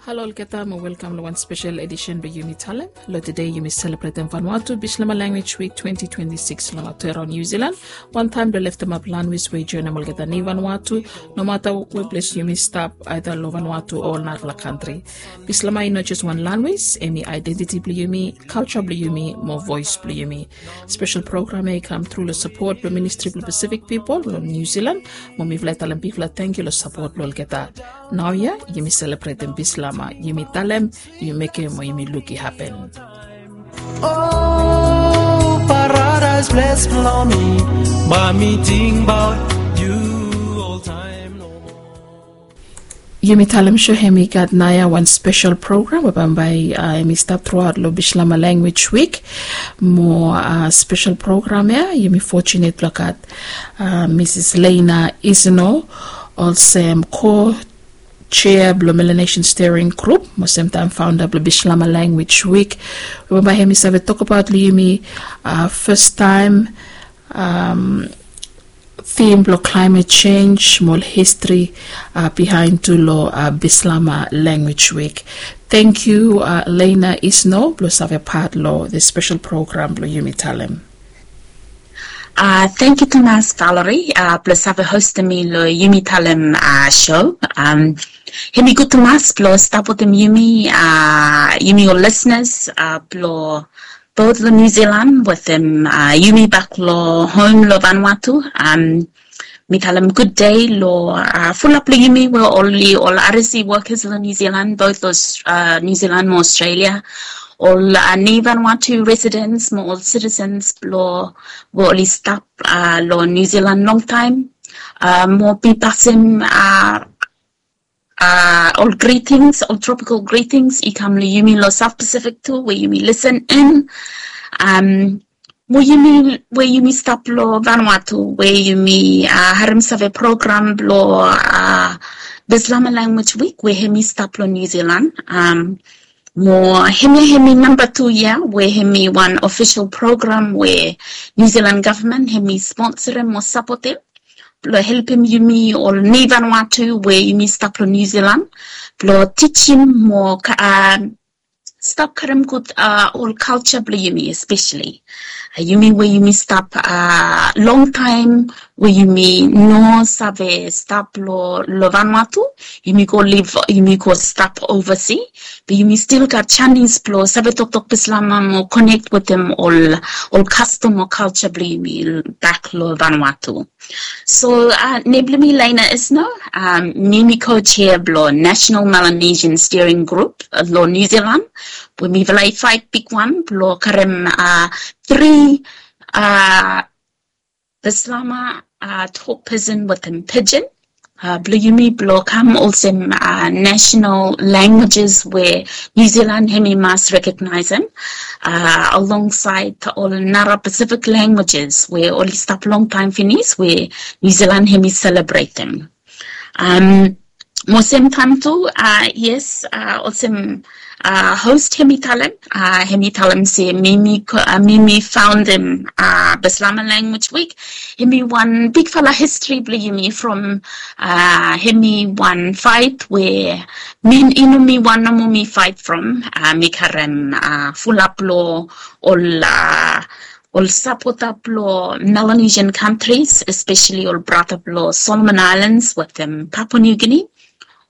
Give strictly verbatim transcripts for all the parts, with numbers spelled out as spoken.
Halo olgeta mo welkam long wan spesel edisen blong Yumi Talem. Long tede yumi selebretem Vanuatu Bislama Language Week twenty twenty-six long Aotearoa Niu Zilan. Wantaem blong leftemap lanwis we i joenem olgeta ni Vanuatu, nomata we ples yumi stap, aeda long Vanuatu o ol narafala kantri. Bislama i no jes wan lanwis, hemi aedentiti blong yumi, kalja blong yumi mo voes blong yumi. Spesel program ya i kam tru long sapot blong Ministri blong Pasifik Pipol long Niu Zilan, mo mifala i talem bigfala tangkiu long sapot blong olgeta. Naoia yumi selebretem Bislama, yumi talem, yumi mekem mo yumi luk i hapen. O paradaes ples blong mi, bae mi tingbaot yu oltaem nomo. Yumi talem so hemi gat naoia wan spesel program we bambae, a, hemi stap truaot long Bislama Language Week. Mo, a, spesel program ya yumi fotunet blong gat, a, Misis Leina Isno olsem ko chair blong Melanesian Steering Group mo semtaem founder blong Bislama Language Week. We bambae hemi save tokbaot long yumi, a, fastaem, am, theme blong climate change mo ol history, a, bihaen tu long, a, Bislama Language Week. Tangkiu, a, Leina Isno blong save pat long this spesel program blong Yumi Talem. A, tangkiu tumas Valerie, a, blong save hostem mi long Yumi Talem, a, show. Am, hemi gud tumas blong stap wetem yumi, a, yumi ol listeners, a, blong both long Niu Zilan wetem, a, yumi bak long hom long Vanuatu. Am, mi talem gud dei long, a, fulap long yumi we oli ol R S E workers long Niu Zilan, both long, a, Niu Zilan mo Australia. Ol, a, ni Vanuatu residents mo ol citizens blong we oli stap, a, long Niu Zilan longtaem. A, mo mi pasem, a, a, ol greetings, ol tropical greetings i kam long yumi long South Pacific tu we yumi listen in. Am, mo yumi we yumi stap long Vanuatu we yumi, a, harem save program blong, a, Bislama Language Week we hemi stap long Niu Zilan. Am, mo hemia hemi namba tu yia we hemi wan ofisol program we Niu Zilan gavman hemi sponsorem mo sapotem blong helpem yumi ol ni Vanuatu we yumi stap long Niu Zilan blong tijim mo ka-, a, stap karem gud, a, ol kalja blong yumi espeseli. A, yumi we yumi stap, a, longtaem we yumi no save stap long, long Vanuatu, yumi go liv, yumi go stap ovasi, be yumi stil gat janis blong save toktok Bislama mo konek wetem ol, ol kastom o kalja blong yumi bak long Vanuatu. So, a, nem blong mi Leina Isno, am, mi mi co-chair blong National Melanesian Steering Group, a, long Niu Zilan, we mifala i faet bigwan blong karem, a, tri, a, Bislama, a, tok pidgin wetem pidgin, a, blong yumi blong kam olsem, a, national languages we Niu Zilan hemi mas rekognaesem, a, alongsaed ol nara Pacific languages we oli stap longtaem finis we Niu Zilan hemi selebretem. Am, mo semtaem tu, a, yes, a, olsem, a, host hemi talem, a, hemi talem se mi mi ko-, a, mi mi faondem, a, Bislama Language Week. Hemi wan bigfala histori blong yumi from, a, hemi wan faet we mi, i no mi wan nomo mi faet from, a, mi karem, a, fulap long ol, a, ol sapota blong Melanesian countries, espeseli ol brata blong Solomon Islands wetem Papua New Guinea.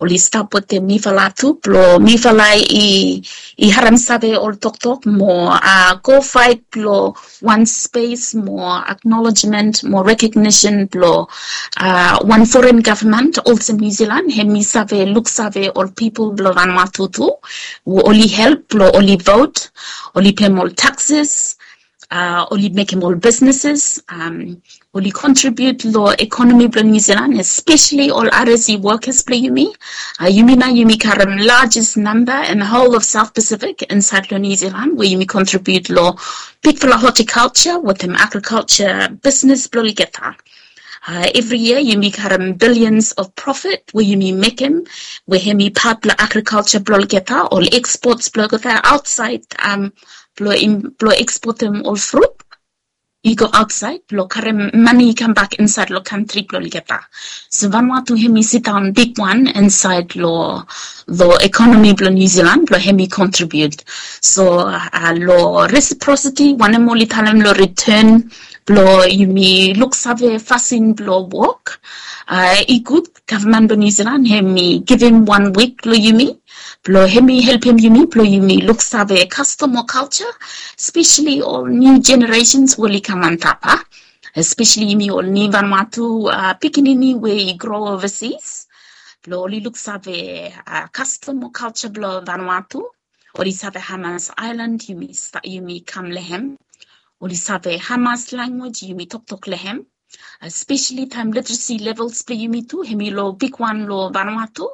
Oli stap wetem mifala tu blong mifala i, i harem save ol toktok mo, a, go faet blong wan spes mo acknowledgement mo recognition blong, a, wan foren gavman olsem Niu Zilan, hemi save luksave ol pipol blong Vanuatu tu, we oli help blong oli vot, oli pem ol taxes, a, oli mekem ol businesses, am, oli contribute long economy blong Niu Zilan, espeseli ol R S E workers blong yumi. A, yumi nao yumi karem largest number in the whole of South Pacific insaed long Niu Zilan, we yumi contribute long bigfala horticulture wetem agriculture business blong olgeta. A, evri yia yumi karem billions of profit we yumi mekem, we hemi pat blong agriculture blong olgeta, ol exports blong olgeta aotsaed, am, blong im-, blong exportem ol frut. i go aotsaed blong karem mane i kambak insaed long kantri blong olgeta. So Vanuatu hemi sidaon bigwan insaed long, long ekonomi blong Niu Jilan blong hemi kontribiut. So long resiprositi wanem oli talem long riten blong yumi luksave fasin blong wok, i gud gavman blong Niu Jilan hemi givim wan wik long yumi blong hemi helpem yumi blong yumi luksave kastom o kalja, speseli ol niu jeneresens we oli kam antap, a, speseli yumi ol niu Vanuatu pikinini we i gro ovasis blong oli luksave kastom o kalja blong Vanuatu. Oli save hamas aelan yumi kam long hem. Oli save hamas lanwis yumi toktok long hem. Speseli taem literesi levels blong yumi tu hemi long bigwan long Vanuatu.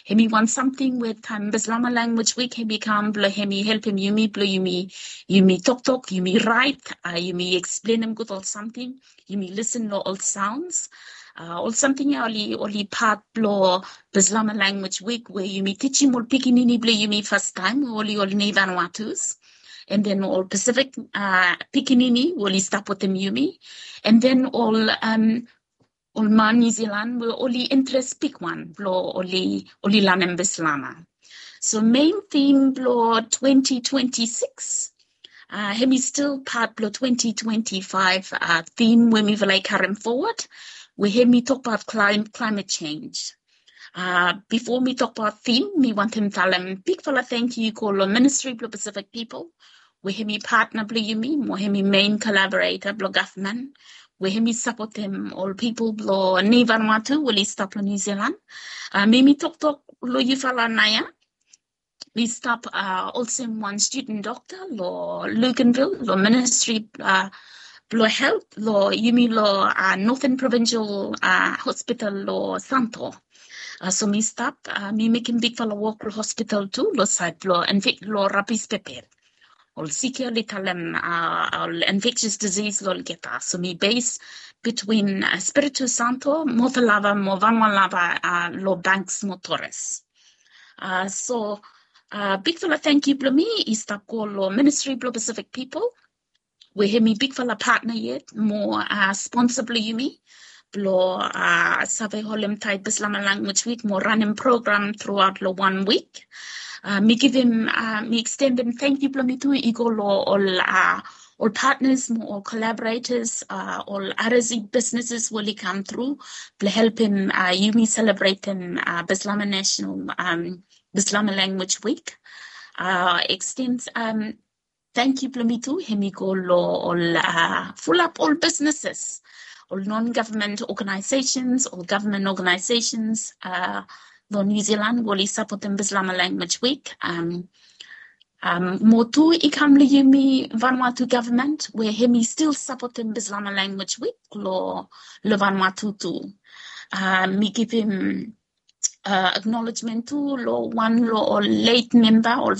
Hemi wan samting we taem Bislama Lanwis Wik hemi kam blong hemi helpem yumi blong yumi, yumi toktok, yumi raet, yumi eksplenem gud ol samting, yumi lisen long ol saons. Ol samting ya oli, oli pat blong Bislama Lanwis Wik we yumi tijim ol pikinini blong yumi fastaem we oli ol niu Vanuatus. And then ol Pasifik pikinini we oli stap wetem yumi. And then ol, ol man Niu Jilan we oli interes bigwan blong oli, oli lanem Bislama. So mein tim blong twenti twenti sikis, hemi stil pat blong twenti twenti faef tim we mifala i karem fowod, we hemi tokbaot klaemet, klaemet jenj. Bifo mi tokbaot tim, mi wantem talem bigfala tangkiu i go long Ministri blong Pasifik Pipol, we hemi patna blong yumi, mo hemi mein kolaboreta blong gavman, we hemi sapotem ol pipol blong niu Vanuatu we oli stap long Niu Jilan. Mi, mi toktok long yufala naoia. Mi stap olsem wan studen dokta long Luganville long Ministri blong Helt long yumi long Northern Provincial Hospital long Santo. So mi stap, mi mekem bigfala wok long hospital tu long saed blong infek, long rabis pepe. Ol sik ya oli talem ol infectious disease long olgeta. So mi base between Espiritu Santo, Motuoa Lava mo Vanua Lava long Banks mo Torres. So bigfala tangkiu blong mi i stap go long Ministri blong Pasifik Pipol, we hemi bigfala patna yet mo sponsa blong yumi blong save holem taet Bislama Lanwis Wik mo ranem program truaot long wan wik. Mi givim, mi ekstendem tangkiu blong mi tu i go long ol, ol patnas mo ol kolaboretas, ol R S E bisneses we oli kam tru blong helpem yumi selebretem Bislama National, Bislama Lanwis Wik. Ekstend tangkiu blong mi tu hemi go long ol fulap ol bisneses, ol non-government organizations, ol government organizations long Niu Jilan we oli sapotem Bislama Lanwis Wik. Mo tu i kam long yumi Vanuatu gavman we hemi stil sapotem Bislama Lanwis Wik long, long Vanuatu tu. Mi givim aknolejmen tu long wan long ol let memba, ol,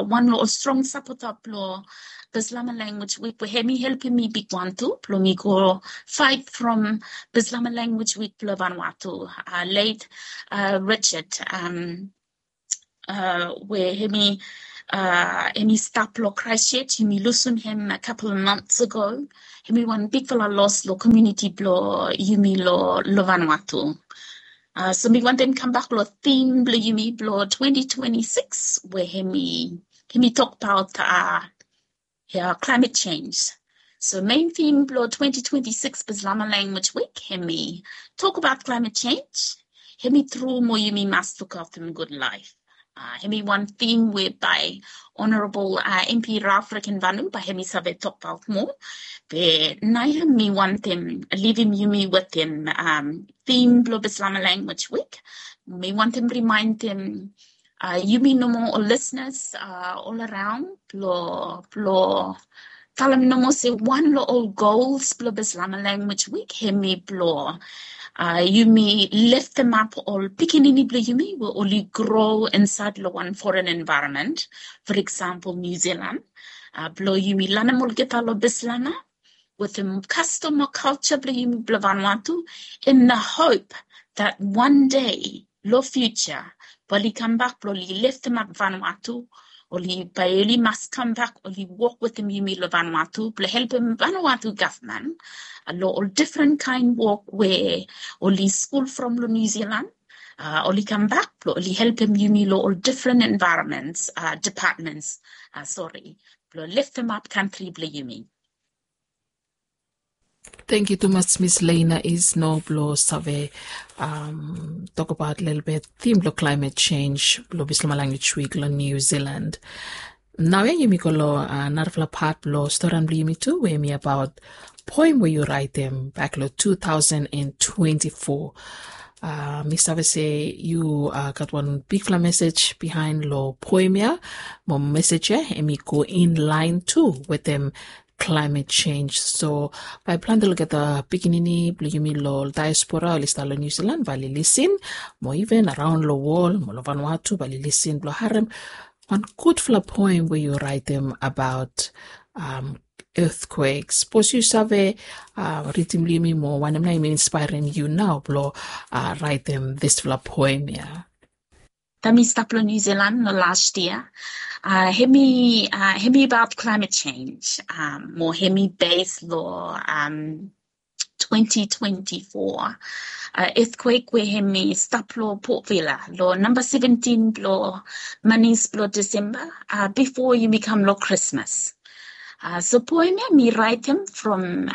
wan long ol strong sapota blong Bislama Lanwis Wik we hemi helpem mi bigwan tu blong mi go faet from Bislama Lanwis Wik blong Vanuatu, let Richard, we hemi, hemi stap long Christchurch, yumi lusim hem a couple months ago. Hemi wan bigfala los long komuniti blong yumi long, long Vanuatu. So mi wantem kambak long tim blong yumi blong twenti twenti sikis we hemi, hemi tokbaot klaemet jenj. So mein tim blong twenti twenti sikis Bislama Lanwis Wik hemi tokbaot klaemet jenj. Hemi tru mo yumi mas lukaotem gud laef. Hemi wan tim we bae Honorabol M P Ralph Rekenvanu bae hemi save tokbaot moa. Be naoia mi wantem livim yumi wetem tim blong Bislama Lanwis Wik. Mi wantem rimaendem yumi nomo ol lisnas ol araon blong, blong talem nomo se wan long ol gols blong Bislama Lanwis Wik hemi blong yumi leftemap ol pikinini blong yumi we oli gro insaed long wan foren envaeronmen. For eksampol Niu Jilan, blong yumi lanem olgeta long Bislama wetem kastom o kalja blong yumi blong Vanuatu, in the hope that one day long fiuja bae oli kambak blong oli leftemap Vanuatu oli bae oli mas kambak oli wok wetem yumi long Vanuatu blong helpem Vanuatu gavman long ol difren kaen wok we oli skul from long New Zealand, oli kambak blong oli helpem yumi long ol difren envaeronments, dipatments, sori, blong leftemap kantri blong yumi. Tangkiu tumas Miss Lena Isno blong save tokbaot lelebet tim blong climate change blong Bislama Language Week long New Zealand. Naoia yumi go long narafala pat blong storian blong yumi tu we hemi abaot poem we yu raetem bak long two thousand and twenty-four. Mi save se yu gat wan bigfala mesej bihaen long poem ya. Mo mesej ya hemi go in laen tu wetem climate change. So bae plante olgeta pikinini blong yumi long diaspora oli stap long New Zealand bae oli lisin, mo iven araon long wol mo long Vanuatu bae oli lisin blong harem wan gudfala poem we yu raetem abaot earthquake. Sapos yu save ridim long yumi mo wanem nao hemi inspaerem yu nao blong raetem disfala poem ya? Taem mi stap long New Zealand long las yia, hemi hemi abaot climate change, mo hemi bes long twenty twenty-four earthquake we hemi stap long Port Vila long namba seventeen blong manis blong Disemba, bifo yumi kam long Krismas. So poem ya mi raetem from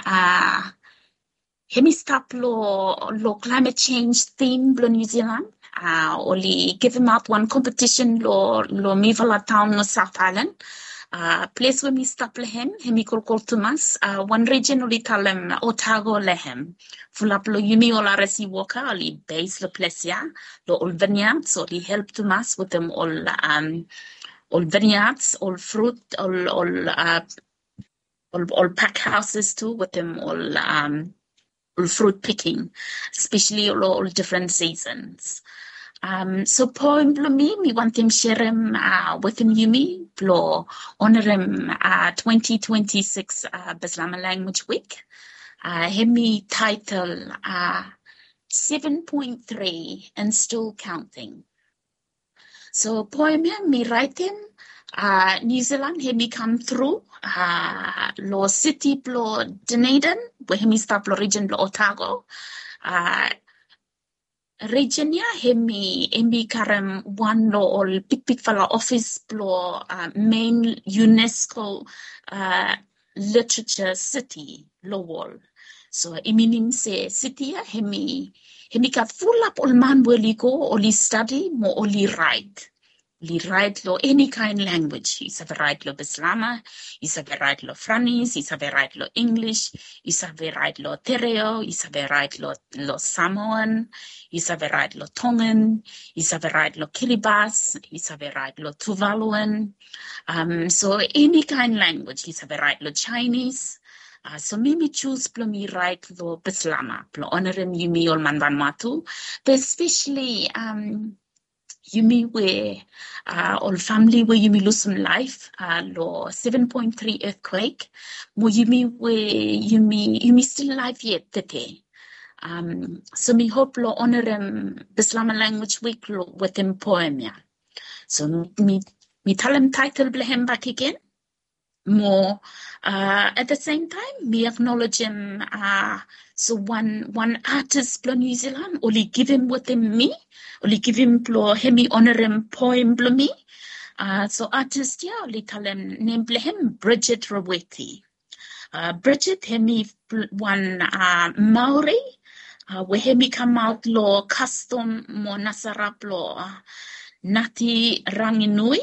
hemi stap long climate change theme blong New Zealand. Oli givimaot wan kompetisen long mifala taon long South Island. Ples we mi stap long hem hemi kolkol tumas. Wan rijen oli talem Otago long hem. Fulap long yumi ol R S E woka oli bes long ples ya, long ol vineyards oli help tumas wetem ol ol vineyards, ol frut, ol ol ol pak hauses tu wetem ol ol fruit picking, especially ol ol different seasons. So poem blong mi mi wantem serem wetem yumi blong onerem twenty twenty-six Bislama Language Week. Hemi taetel seven point three and still counting. So poem ya mi raetem New Zealand hemi kam tru long siti blong Dunedin we hemi stap long rijen blong Otago. Rijen ya hemi hemi karem wan long ol bigbigfala ofis blong main UNESCO literature city long wol. So i minim se siti ya hemi hemi gat fulap ol man we oli go oli stadi mo oli raet. Oli raet long eni kaen language. I save raet long Bislama, i save raet long Franis, i save raet long Inglis, i save raet long Tereo, i save raet long long Samoan, i save raet long Tongan, i save raet long Kiribati, i save raet long Tuvaluan. So eni kaen language, i save raet long Chinese. So mi mi jus blong mi raet long Bislama blong onerem yumi ol man Vanuatu, be especially yumi we ol famili we yumi lusum laef long seven point three earthquake, mo yumi we yumi yumi stil laef yet tede. So mi hop long onerem Bislama Language Week wetem poem ya. So mi mi talem taetel blong hem bakegen. Mo at the same time mi aknolejem so wan wan atis blong New Zealand oli givim wetem mi, oli givim blong hemi onerem poem blong mi. So atis ya oli talem nem blong hem Bridget Roweti. Bridget hemi wan Maori we hemi kamaot long kastom mo nasara blong Ngati Ranginui.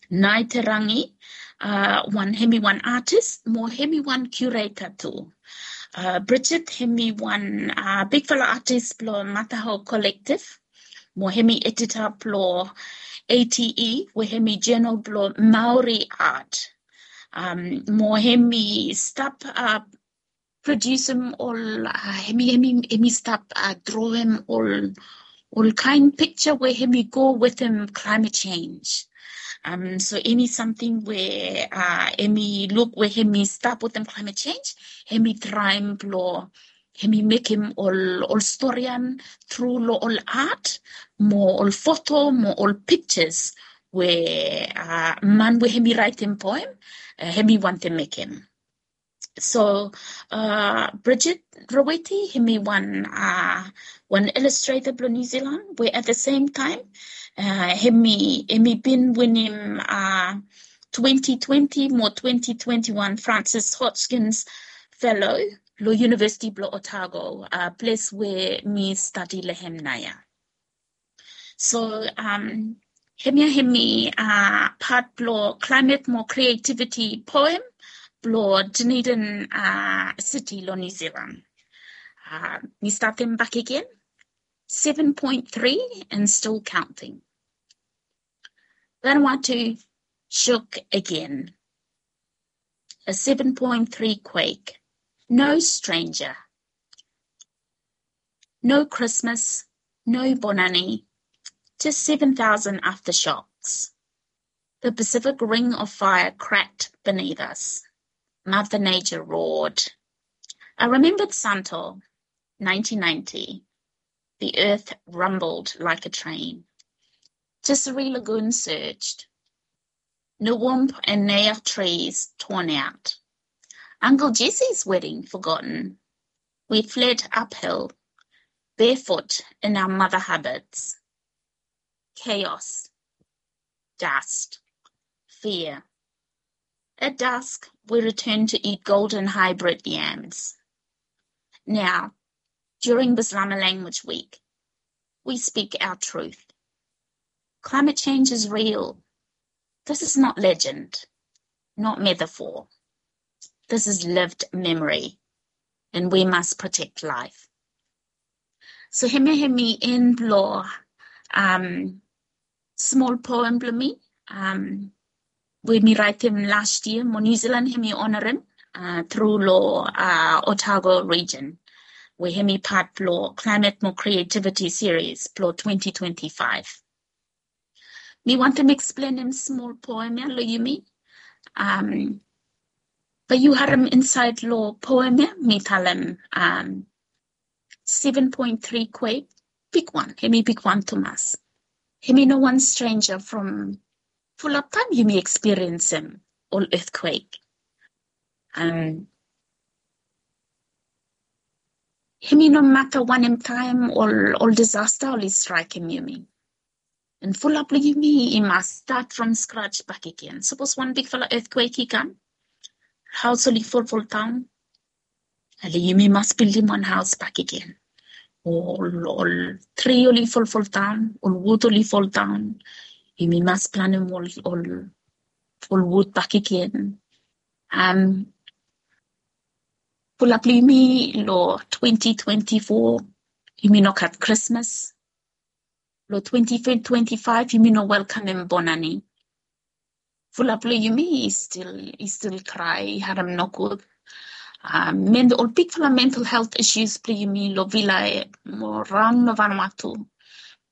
Ngati Rangi, wan hemi wan atis mo hemi wan curator tu. Bridget hemi wan bigfala atis blong Mataho Collective mo hemi edita blong A T E we hemi journal blong Maori art. Mo hemi stap produsem ol hemi hemi hemi stap droem ol ol kaen pikja we hemi go wetem climate change. So eni samting we hemi luk we hemi stap wetem climate change, hemi traem blong hemi mekem ol ol storian tru long ol art mo ol foto mo ol pikjas we man we hemi raetem poem, hemi wantem mekem. So Bridget Roweti hemi wan wan ilustreta blong New Zealand we at the same time hemi hemi bin winim twenty twenty mo twenty twenty-one Francis Hodgkins Fellow long University blong Otago, ples we mi stadi long hem naoia. So hemia hemi pat blong Climate mo Creativity poem blong Dunedin City long New Zealand. Mi statem bakegen. Seven point three and still counting. Vanuatu shook again. A seven point three quake. No stranger. No Christmas, no Bonane, just seven thousand aftershocks. The Pacific Ring of Fire cracked beneath us. Mother Nature roared. I remembered Santo, nineteen ninety. The earth rumbled like a train. Tissouri Lagoon surged. Nuwumb and Nayah trees torn out. Uncle Jesse's wedding forgotten. We fled uphill, barefoot in our mother habits. Chaos. Dust. Fear. At dusk, we returned to eat golden hybrid yams. Now, during Bislama Language Week, we speak our truth. Climate change is real. This is not legend, not metaphor. This is lived memory, and we must protect life. So hemia hemi en blong smol poem blong mi we mi raetem las yia mo New Zealand hemi onarem tru long Otago region we hemi pat blong Climate mo Creativity series blong twenty twenty-five. Mi wantem eksplenem smol poem ia long yumi. Bae yu harem insaed long poem ia mi talem seven point three quake, bigwan, hemi bigwan tumas. Hemi no wan stranger from fulap taem yumi ekspiriensem ol earthquake. Hemi no mata wanem taem ol ol disaster oli straekem yumi. And fulap long yumi i mas stat from scratch bakegen. Sapos wan bigfala earthquake i kam, haos oli folfol daon, ale yumi mas bildim wan haos bakegen. Ol ol tri oli folfol daon, ol wud oli foldaon, yumi mas planem ol ol ol wud bakegen. Am, fulap long yumi long twenty twenty-four yumi no gat Krismas. Long twenty twenty-five yumi no welkamem Bonane. Fulap long yumi i stil i stil krae, i harem nogud. Ol bigfala mental health issues blong yumi long Vila mo raon long Vanuatu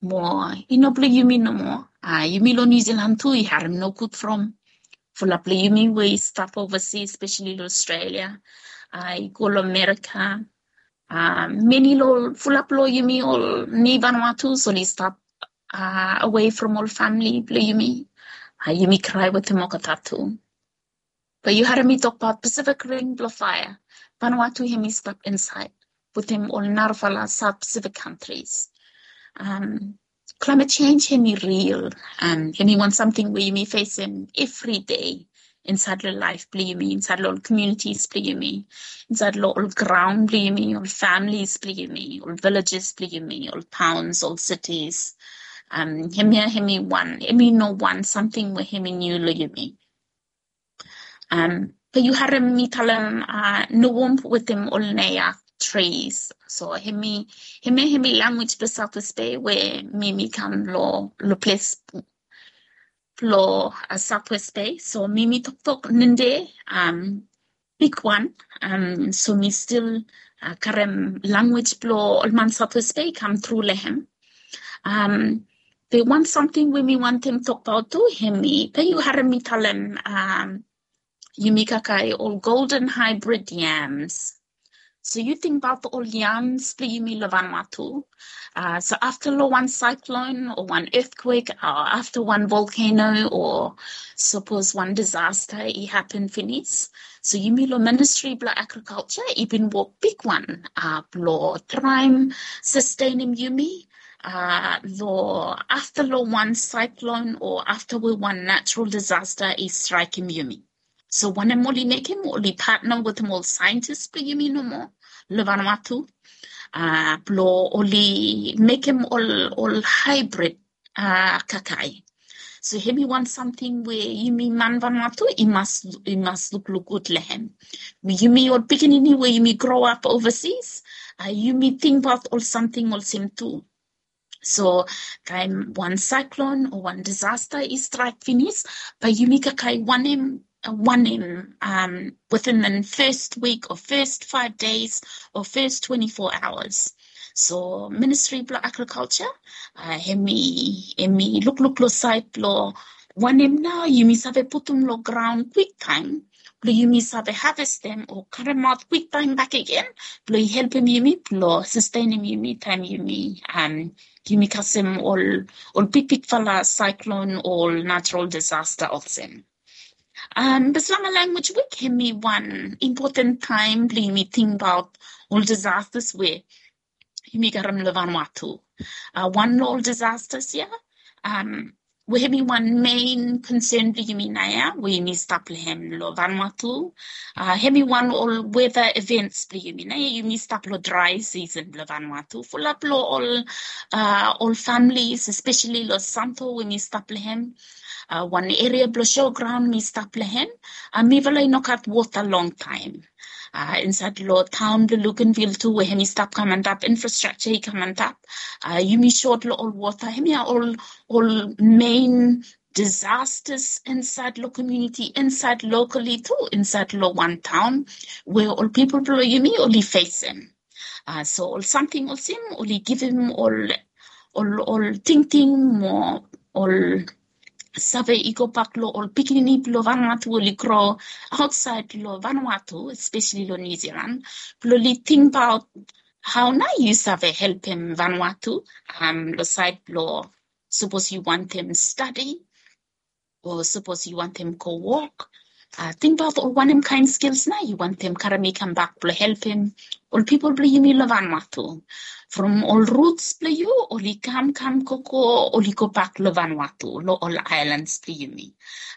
mo i no blong yumi nomo. Yumi long New Zealand tu i harem nogud from fulap long yumi we i stap ovasi, especially long Australia, i go long Amerika. Many long fulap long yumi ol ni Vanuatus oli stap away from ol famili blong yumi. Yumi krae wetem olgeta tu. Be yu harem mi tokbaot Pacific Ring blong faea. Vanuatu hemi stap insaed wetem ol narafala South Pacific countries. Climate change hemi real. Hemi wan samting we yumi fesem evri dei insaed long laef blong yumi, insaed long ol communities blong yumi, insaed long ol graon blong yumi, ol families blong yumi, ol villages blong yumi, ol towns, ol cities. Hemia hemi wan, hemi no wan samting we hemi niu long yumi. Be yu harem mi talem nuwumb wetem ol nayah trees. So hemi hemia hemi lanwis blong South West Bay we mi mi kam long long ples blong South West Bay. So mi mi toktok ninde bigwan. So mi stil karem lanwis blong ol man South West Bay i kam tru long hem. Be wan samting we mi wantem tokbaot tu hemi be yu harem mi talem yumi kakae ol golden hybrid yams. So yu tingbaot ol yams blong yumi long Vanuatu. Uh, so afta long wan cyclone o wan earthquake, uh, afta wan volcano o sapos wan disaster i hapen finis, so yumi long Ministry blong Agriculture i bin wok bigwan, uh, blong traem sustenem yumi, uh, long afta long wan cyclone o afta we wan natural disaster i straekem yumi. So wanem oli mekem, oli patna wetem ol saentis blong yumi nomo long Vanuatu, uh, blong oli mekem ol, ol hybrid, uh, kakae. So hemi wan samting we yumi man Vanuatu i mas, i mas lukluk gud long hem. Yumi ol pikinini we yumi grow up overseas, uh, yumi tingbaot ol samting olsem tu. So taem wan cyclone o wan disaster i straek finis, bae yumi kakae wanem, wanem, um, within the first week or first five days or first twenty-four hours. So Ministry blong Agriculture, uh, hemi, hemi lukluk long saed blong wanem nao yumi save putum long graon kwiktaem blong yumi save havestem o karemaot kwiktaem bakegen blong i helpem yumi blong sustenem yumi taem yumi, um, yumi kasem ol, ol bigbigfala cyclone o ol natural disaster olsem. Um, Bislama Language Week hemi wan impoten taem blong yumi tingbaot ol disasters we yumi karem long Vanuatu. Uh, wan long ol disasters ia, um, we hemi wan main concern blong yumi naoia we yumi stap long hem long Vanuatu. Uh, hemi wan ol weather events blong yumi naoia, yumi stap long dry season blong Vanuatu. Fulap long ol, uh, ol families, especially long Santo we mi stap long hem, uh, wan eria blong showground mi stap long hem, uh, mifala i no gat wota longtaem. Uh, insaed long taon blong Luganville tu we hemi stap kam antap, infrastructure i kam antap, uh, yumi sot long ol wota. Hemia ol, ol main disasters insaed long community, insaed locally tu, insaed long wan taon we ol pipol blong yumi oli fesem. Uh, so ol samting olsem oli givim ol, ol, ol tingting mo ol save i gobak long ol pikinini blong Vanuatu oli grow aotsaed long Vanuatu, especially long New Zealand, blong oli tingbaot hao nao yu save helpem Vanuatu, um, long saed blong sapos yu wantem stadi o sapos yu wantem go wok. Uh, tingbaot ol wanem kaen skils nao yu wantem karem i kambak blong helpem ol pipol blong yumi long Vanuatu. From ol roots blong yu oli kam, kam gogo oli gobak long Vanuatu, long ol islands blong yumi.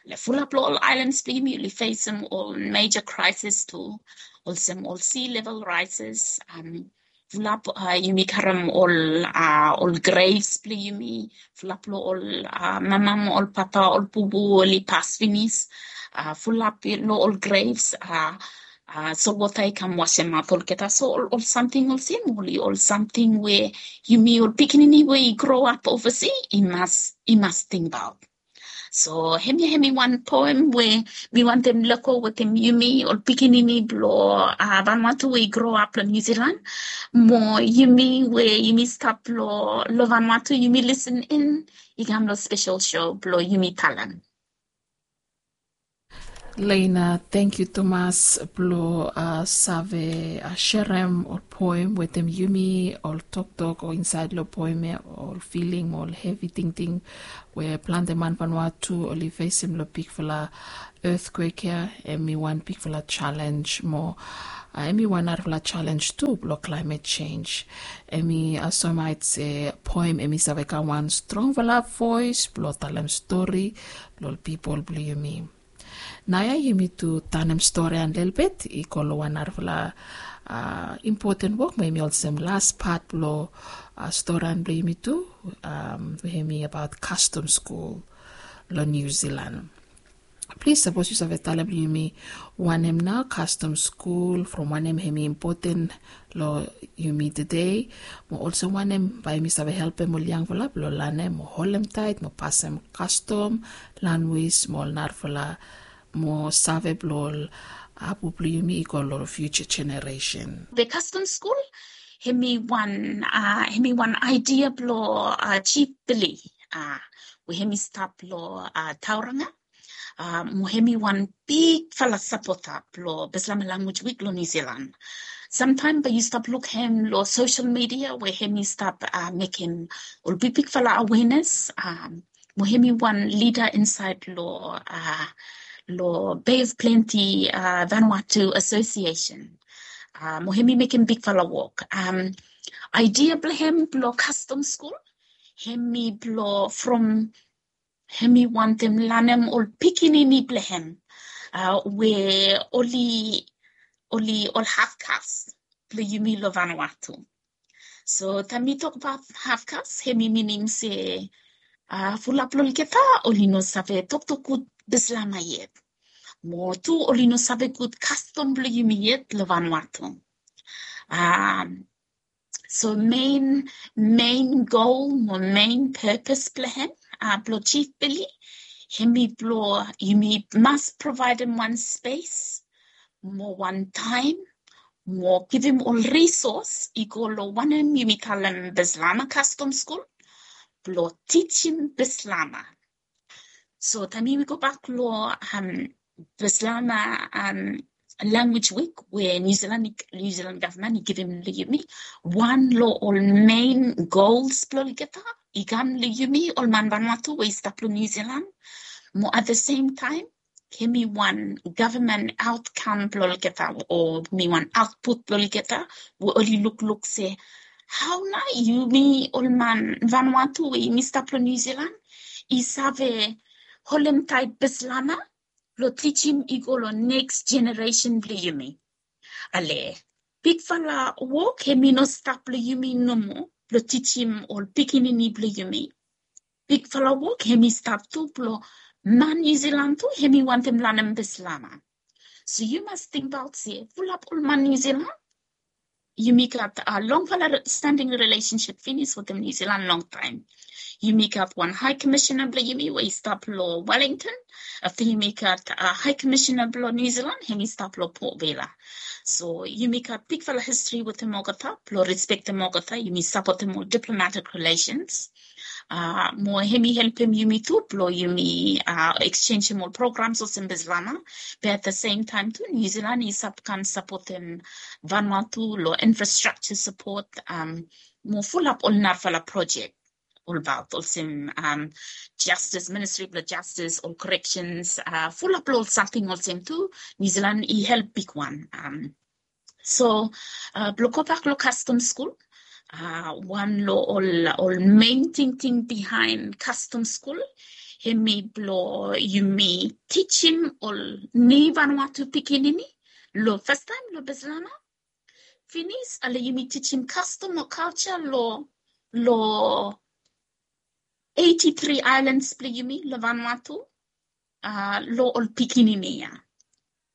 Long fulap long ol islands blong yumi oli fesem ol major crisis tu, olsem ol sea level rises, um, fulap, uh, yumi karem ol, uh, ol graves blong yumi, fulap long ol, uh, mama mo ol papa, ol bubu oli pas finis, uh, fulap long ol graves, uh, uh, solwota i kam wasemaot olgeta. So ol, ol samting olsem oli ol samting we yumi ol pikinini we i grow up oversea i mas, i mas tingbaot. So hemia hemi wan poem we mi wantem lego wetem yumi ol pikinini blong, uh, Vanuatu we i grow up long New Zealand. Mo yumi we yumi stap long, long Vanuatu, yumi listen in, i kam long special show blong yumi talem. Lena, tangkiu tumas blong, uh, save, uh, serem ol poem wetem yumi, ol toktok o insaed long poem ia, ol filing mo ol hevi tingting we plante man Vanuatu oli fesem long bigfala earthquake ia. Hemi wan bigfala jalenj mo, uh, hemi wan narafala jalenj tu blong climate change. Hemi, uh, soemaot se poem hemi save kam wan strongfala voes blong talem stori long ol pipol blong yumi. Naoia yumi tu tanem storian lelebet i go long wan narafala, uh, impoten wok mo hemi olsem las pat blong, uh, storian blong yumi tu, um, we hemi abaot kastom skul long New Zealand. Plis sapos yu save talem long yumi wanem nao kastom skul, from wanem hemi impoten long yumi tede, mo olsem wanem bae yumi save helpem ol yangfala blong lanem mo holem taet mo pasem kastom, lanwis mo ol narafala mo save blong ol apu blong yumi i go long future generation. The kastom skul hemi wan, uh, hemi wan aedia blong, uh, Jif Billy, uh, we hemi stap long, uh, Tauranga. Mo hemi wan bigfala sapota blo Bislama Lanwis Wik lo Niu Silan. Samtaem bae yu stap luk hem lo sosel midia we hemi stap mekem ol bigbigfala awenes. Mo hemi wan lida insaed lo lo Bay of Plenty Vanuatu Association. Mo hemi mekem bigfala wok. Aedia blo hem blo kastom skul hemi blo from hemi wantem lanem ol pikinini blo hem we oli oli ol hafkas blo yumi lo Vanuatu. So taem mi tokbaot hafkas hemi minim se fulap lo olgeta oli no save toktok gud Bislama yet. Mo tu oli no save gud kastom blo yumi yet lo Vanuatu. So mein mein gol mo mein pepes blo hem blo Jif Bili hemi blo yumi mas provaedem wan spes mo wan taem mo givim ol risos i go lo wanem yumi talem Bislama kastom skul blo tijim Bislama. So taem yumi gobak lo Bislama Lanwis Wik we Niu Silan gavman i givim lo yumi, wan lo ol mein gols blo olgeta i kam lo yumi ol man Vanuatu we i stap lo Niu Silan. Mo at the same taem hemi wan gavman aotkam blo olgeta o hemi wan aotput blo olgeta we oli lukluk se hao nao yumi ol man Vanuatu we yumi stap lo Niu Silan i save holem taet Bislama blo tijim i go lo neks jeneresen blo yumi. Ale bigfala wok hemi no stap lo yumi nomo blo tijim ol pikinini blo yumi. Bigfala wok hemi stap tu blo man Niu Silan tu hemi wantem lanem Bislama. So yu mas tingbaot se fulap ol man Niu Silan yumi gat longfala standing relationship finis wetem Niu Silan longtaem. Yumi gat wan High Commissioner blo yumi we i stap lo Wellington. Afta yumi gat High Commissioner blo Niu Silan hemi stap lo Port Vila. So yumi gat bigfala histori wetem olgeta blo respektem olgeta, yumi sapotem ol diplomatic relations. Mo hemi helpem yumi tu blo yumi eksenjem ol programs olsem Bislama. Be at the same taem tu Niu Silan i save kam sapotem Vanuatu lo infrastructure sapot mo fulap ol narafala projek olbaot olsem justice, ministri blo justice, ol corrections, fulap lo ol samting olsem tu Niu Silan i help bigwan. So blo gobak lo kastom skul, wan lo ol mein tingting bihaen kastom skul hemi blo yumi tijim ol ni Vanuatu pikinini lo fastaem lo Bislama finis ale yumi tijim kastom o kalja lo lo eighty three aelans blo yumi lo Vanuatu. Lo ol pikinini ya,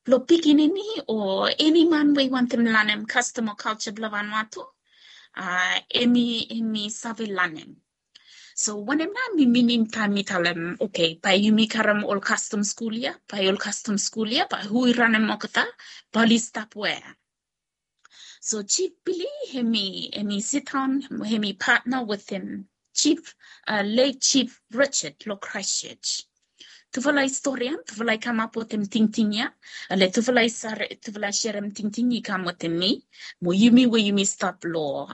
lo pikinini o eni man we i wantem lanem kastom o kalja blo Vanuatu, hemi hemi save lanem. So wanem nao mi minim taem mi talem oke bae yumi karem ol kastom skul ya, bae ol kastom skul ya bae hu i ranem olgeta, bae oli stap wea? So Jif Bili hemi hemi sidaon hemi patna wetem Jif, late Jif Richard lo Christchurch. Tufala i storian, tufala i kamap wetem tingting ya. Ale tufala i serem tingting i kam wetem mi mo yumi we yumi stap lo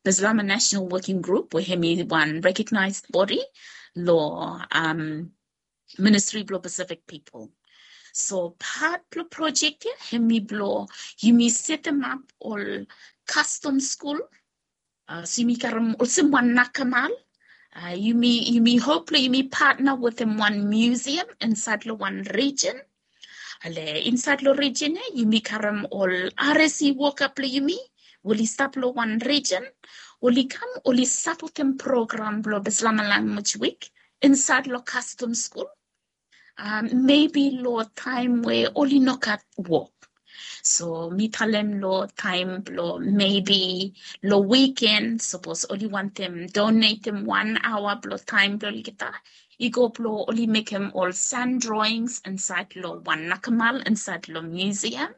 Bislama National Working Group we hemi wan recognized body lo ministri blo Pacific pipol. So pat blo projek ya hemi blo yumi setemap ol kastom skul. So yumi karem olsem wan nakamal. Yumi yumi hop lo yumi patna wetem wan museum insaed lo wan rijen. Ale insaed lo rijen ya yumi karem ol R S E woka blo yumi we oli stap lo wan rijen, oli kam oli sapotem program blo Bislama Lanwis Wik insaed lo kastom skul. Mebi lo taem we oli no gat wok. So mi talem lo taem blo mebi lo wiken sapos oli wantem donetem wan aoa blo taem blo olgeta i go blo oli mekem ol sand drawings insaed lo wan nakamal insaed lo museum.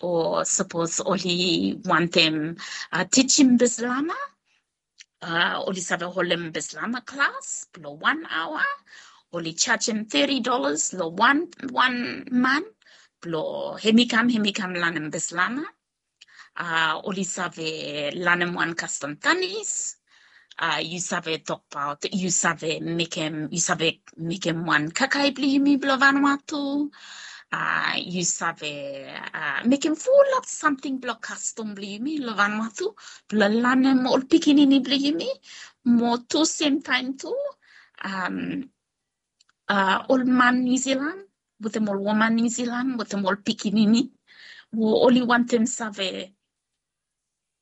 O sapos oli wantem tijim Bislama, oli save holem Bislama klas blo wan aoa. oli jajem teti dolas long wan wan man blong hem i kam hem i kam lanem Bislama. A oli save lanem wan kastom tanis. A yu save tokbaot yu save mekem yu save mekem wan kakae blong yumi blong Vanuatu. A yu save a mekem fulap samting blong kastom blong yumi long Vanuatu blong lanem ol pikinini blong yumi. Mo tu semtaem tu am a ol man Niusilan wetem ol woman Niusilan wetem ol pikinini we oli wantem save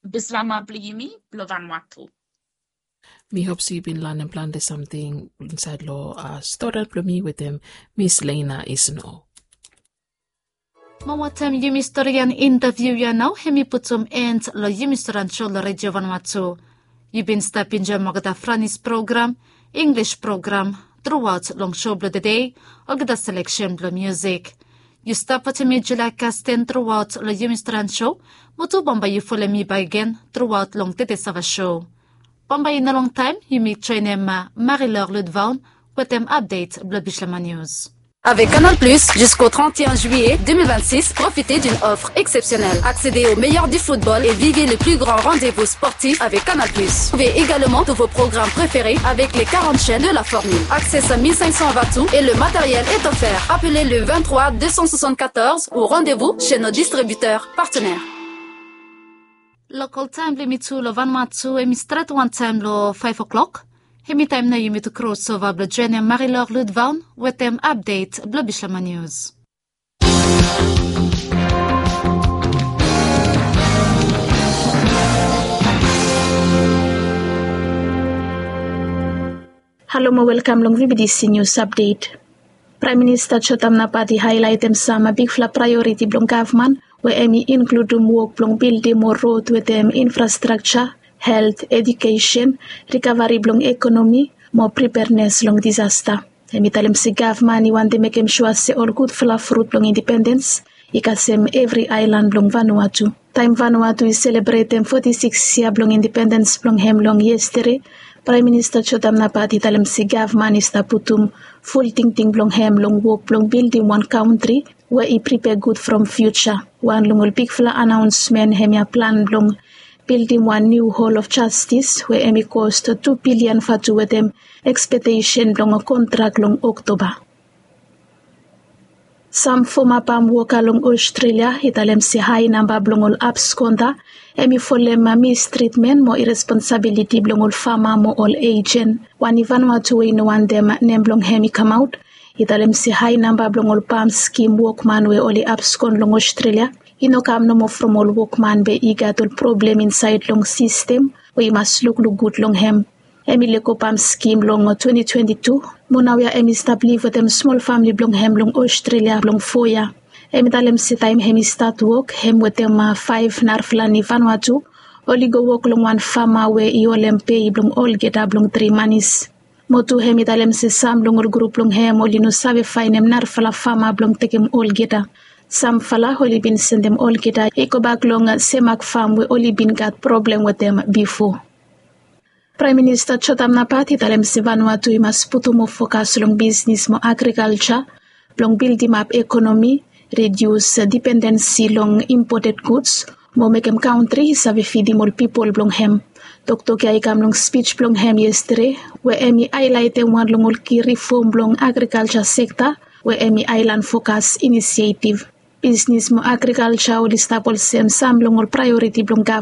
Bislama blong yumi blong Vanuatu. Mi hop se yu bin lanem plante samting insaed long stori blong mi wetem Mis Leina Isno. Mo wantem yumi storian intaviu ya nao hem i putum end long yumi storian sho long Redio Vanuatu. Yu bin stap enjoem olgeta Franis program, Inglis program truaot long sho blong tede, olgeta seleksen blong miusik. Yu stap wantem mi Julia Kasten truaot long yumi storian sho, mo tu bambae yu folem mi bakegen truaot long tede sava sho. Bambae i no longtaem yumi joenem Marie-Laure Ludvaun wetem apdet blong Bislama Nius. Avec Canal Plus, jusqu'au trente et un juillet deux mille vingt-six, profitez d'une offre exceptionnelle. Accédez au meilleur du football et vivez le plus grand rendez-vous sportif avec Canal Plus. Trouvez également tous vos programmes préférés avec les quarante chaînes de la formule. Accès à mille cinq cents watts et le matériel est offert. Appelez le vingt-trois deux cent soixante-quatorze ou rendez-vous chez nos distributeurs partenaires. Lokol taem blong yumi tu long Vanuatu hem i stret wantaem long faef o'klok. Hem i taem nao yumi tu krosova blong joenem Marie-Laure Ludvaun wetem apdet blong Bislama Nius. Halo mo welkam long VBTC Nius Apdet. Praem Minista Jotam Napat i haelaetem sam bigfala praeoriti blong gavman we hem i inkludum wok blong bildim moa rod wetem infrastrakja, helt, ejukesen, rikavari blong ekonomi mo pripernes long disasta. Hem i talem se gavman i wantem mekem sua se ol gudfala frut blong indipendens i kasem evri aelan blong Vanuatu. Taem Vanuatu i selebretem foti sikis yia blong indipendens blong hem long yestede, Praem Minista Jotam Napat i talem se gavman i stap putum ful tingting blong hem long wok blong bildim wan kantri we i pripea gud from fiuja. Wan long ol bigfala anaonsmen hemia plan blong bildim wan niu Hall of Justice we hem i kos tu bilian vatu wetem ekspektesen blong kontrak long Oktoba. Sam foma pam woka long Ostrelia i talem se hae namba blong ol abskonda hem i folem mistritmen mo iresponsabiliti blong ol fama mo ol ejen. Wan i Vanuatu we i no wantem nem blong hem i kamaot i talem se hae namba blong ol pam skim wokman we oli abskon long Ostrelia i no kam nomo from ol wokman be i gat ol problem insaed long sistem we i mas lukluk gud long hem. Hem i lego pam skim long twenti twenti tu mo naoia hem i stap liv wetem smol famle blong hem long Ostrelia blong fo yia. Hem i talem se taem hem i stat wok hem wetem faef narafala ni Vanuatu oli go wok long wan fama we i holem pei blong olgeta blong tri manis. Mo tu hem i talem se sam long ol grup blong hem oli no save faenem narafala fama blong tekem olgeta. Samfala oli bin sendem olgeta i gobak long semak fam we oli bin gat problem wetem bifo. Praem Minista Jotam Napat i talem se Vanuatu i mas putum moa fokas long bisnis mo agrikalja blong bildimap ekonomi, ridius dipendensi long impoted guds mo mekem kantri i save fidim ol pipol blong hem. Toktok ya i kam long spij blong hem yestede we hem i haelaetem wan long ol ki rifom blong agrikalja sekta we hem i aelan fokas inisietiv. Bisnis mo agrikalja oli stap olsem sam long ol praeoriti blong gavman.